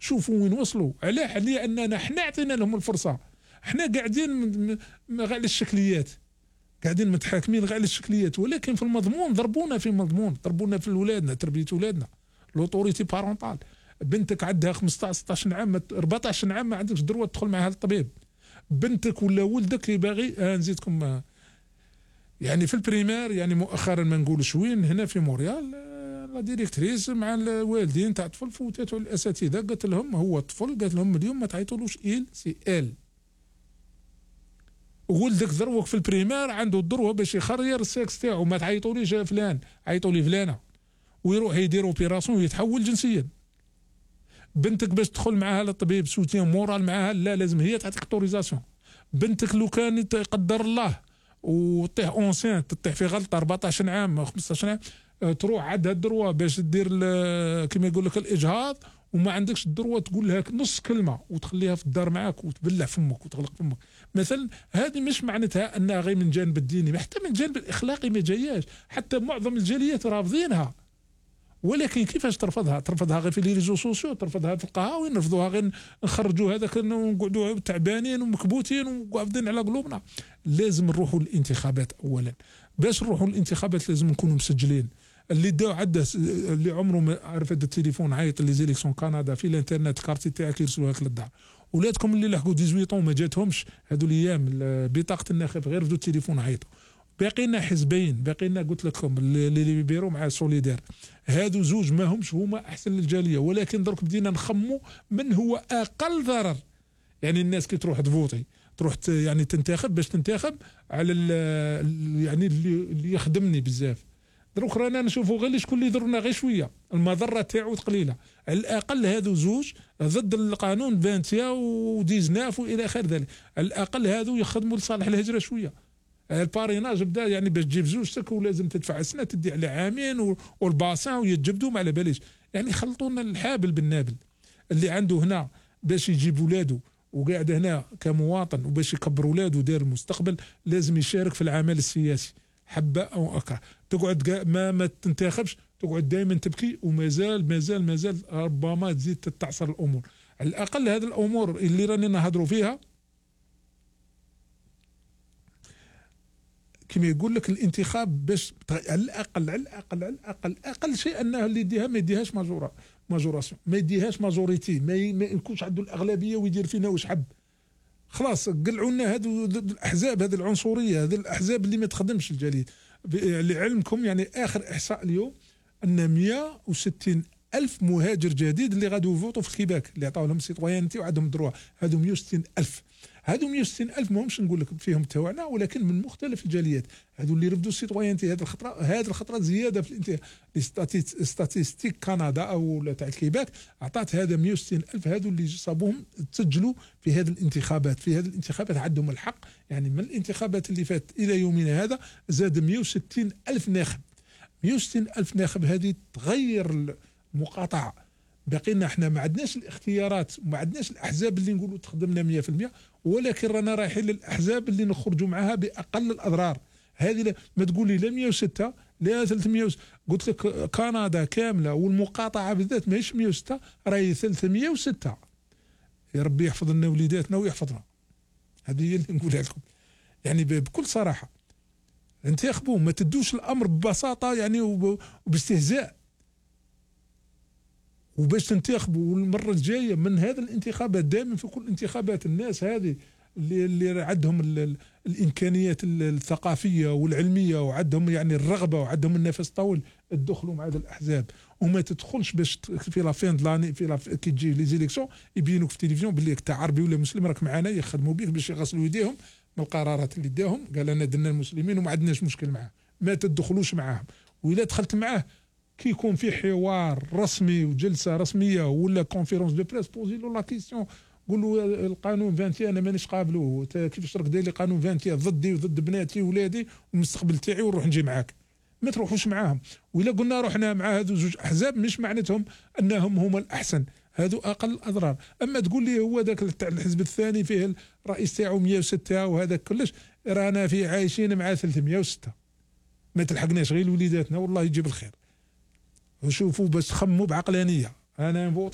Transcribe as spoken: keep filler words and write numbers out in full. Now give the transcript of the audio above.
شوفوا وين وصلوا. علاه؟ لاننا حنا عطينا لهم الفرصه، حنا قاعدين غير على الشكليات، قاعدين متحاكمين غير على الشكليات، ولكن في المضمون ضربونا في المضمون، ضربونا في ولادنا، تربيه ولادنا، لوطوريتي بارونتال. بنتك عندها خمسطاش ستطاش عام أربعطاش عام ما عندكش دروه تدخل معها للطبيب. بنتك ولا ولدك باغي آه نزيدكم آه يعني في البريمير، يعني مؤخرا ما نقولش وين، هنا في موريال آه لا ديريكتريس مع الوالدين تاع الطفل فوتاتوا الاساتذه، قالت لهم هو الطفل، قالت لهم اليوم ما تعيطولوش إيل سي إل. ولدك ذروك في البريمير عنده الذروه باش يخرير السكس تاعو، ما تعيطوليش فلان، عيطوا لي فلانه، ويروح يدير اوبيراسيون ويتحول جنسيا. بنتك باش تدخل معاها للطبيب سوتيان مورال معاها، لا لازم هي تعطيك اوتوريزاسيون. بنتك لو كان يقدر الله وطيح اونسين، تطيح في غلطه أربعطاش عام خمسطاش عام، تروح عندها الدروه باش دير كما يقول لك الاجهاض، وما عندكش الدروه تقول لها نص كلمه وتخليها في الدار معاك وتبلع فمك وتغلق فمك مثلا. هذه مش معناتها انها غير من الجانب الديني، حتى من الجانب الاخلاقي ما جاياش، حتى معظم الجاليات رافضينها. ولكن كيفاش ترفضها؟ ترفضها غير في لي ريزو سوسيو، ترفضها في القهاوي، نرفضوها غير نخرجوا هذاك ونقعدوا تعبانين ومكبوتين وقابضين على قلوبنا. لازم نروحوا للانتخابات اولا. باش نروحوا للانتخابات لازم نكونوا مسجلين. اللي داو عده اللي عمره ما عرف هذا التليفون عيط لي زيليكسيون كندا في الانترنت، كارتي تاعك يرسلوها لك للدار. ولادكم اللي لحقوا ثمانية عشر ما جاتهمش هذو الايام بطاقه الناخب، غير بدو التليفون عيطوا. باقي لنا حزبين، باقي لنا قلت لكم اللي بيبيروا مع سوليدير، هادو زوج ما همش هما احسن للجاليه، ولكن درك بدينا نخموا من هو اقل ضرر. يعني الناس كي تروح تفوتي، تروح يعني تنتخب، باش تنتخب على يعني اللي, اللي يخدمني بزاف. دروك رانا نشوفوا غير شكون اللي يضرنا غير شويه، المضره تاعو قليله. على الاقل هادو زوج ضد القانون فانتيا وديزناف والى اخر ذلك، على الاقل هادو يخدموا لصالح الهجره شويه. الباريناج بدا يعني باش تجيب زوجتك ولازم تدفع سنه، تدي على عامين، والباسان ويتجبدوا ما على باليش. يعني خلطوا لنا الحابل بالنابل. اللي عنده هنا باش يجيب ولاده وقاعد هنا كمواطن وباش يكبر ولاده ودير المستقبل، لازم يشارك في العمل السياسي حبه او اكره. تقعد ما ما تنتخبش، تقعد دائما تبكي، ومازال مازال مازال ربما تزيد تتعصر الامور. على الاقل هذه الامور اللي راني نهضروا فيها، كما يقول لك الانتخاب باش على الاقل على الاقل على الاقل اقل شيء انه اللي يديها ما يديهاش ماجورا ماجوراسيون، ما يديهاش ماجوريتي، ما يكونش عنده الاغلبيه ويدير فينا واش حب. خلاص قلعوا لنا هذو الاحزاب، هذه العنصريه، هذه الاحزاب اللي ما تخدمش الجاليه. لعلمكم يعني اخر احصاء اليوم ان مئة وستين ألف مهاجر جديد اللي غادي يفوتوا في الكيباك، اللي عطاو لهم سيتويانتي وعندهم دروع، هذو مئة وستين ألف. هذو مئة وستين ألف ماهمش نقول لك فيهم تاعنا، ولكن من مختلف الجاليات. هذو اللي رفضوا السيتويانتي هذه الخطره، هذه الخطره زياده في الانتخابات. ستاتيستيك كندا او تاع الكيباك عطات هذا مئة وستين ألف، هذو اللي صابوهم تسجلوا في هذه الانتخابات. في هذه الانتخابات عندهم الحق، يعني من الانتخابات اللي فات الى يومنا هذا زاد مئة وستين ألف ناخب. مئة وستين ألف ناخب هذه تغير المقاطعه. بقينا احنا ما عندناش الاختيارات، ما عندناش الاحزاب اللي نقولوا تخدمنا مئة في المئة، ولكن رانا رايحين للاحزاب اللي نخرجوا معها باقل الاضرار. هذه ما تقول لي لا مئة وستة لا ثلاثمئة، قلت لك كندا كامله والمقاطعه بالذات ماهيش مئة وستة، راهي ثلاثمئة وستة. يا ربي يحفظ لنا وليداتنا ويحفظنا. هذه هي اللي نقولها لكم يعني بكل صراحه. انتخبوا، ما تدوش الامر ببساطه يعني وباستهزاء. وباش تنتخبوا المره الجايه من هذا الانتخابات، دائما في كل الانتخابات الناس هذه اللي اللي عندهم الامكانيات الثقافيه والعلميه وعندهم يعني الرغبه وعندهم النفس طويل، تدخلوا مع هذه الاحزاب. وما تدخلش باش في لا فين دلاني في لا كي تجي لي زيليكسيون يبينوك في التلفزيون باللي انت عربي ولا مسلم راك معنا، يخدموا بك باش يغسلوا يديهم من القرارات اللي داهم. قال انا درنا المسلمين وما عندناش مشكل معاه، ما تدخلوش معاهم. واذا دخلت معاه كي يكون في حوار رسمي وجلسه رسميه ولا كونفيرونس دو بريس، بوزي له لا كيسيون، قول له القانون عشرين انا مانيش قابله، كيفاش راك داير لي قانون عشرين ضدي وضد بناتي وولادي والمستقبل تاعي ونروح نجي معاك. ما تروحوش معاهم. وإلا قلنا رحنا مع هذو زوج احزاب مش معناتهم انهم هما الاحسن، هذو اقل الاضرار. اما تقول لي هو ذاك تاع الحزب الثاني فيه الرئيس تاعو مئة وستة وهذا كلش، رانا في عايشين مع ثلاثمئة وستة، ما تلحقناش غير وليداتنا والله يجيب الخير. وشوفوا باش تخموا بعقلانيه. انا نفوت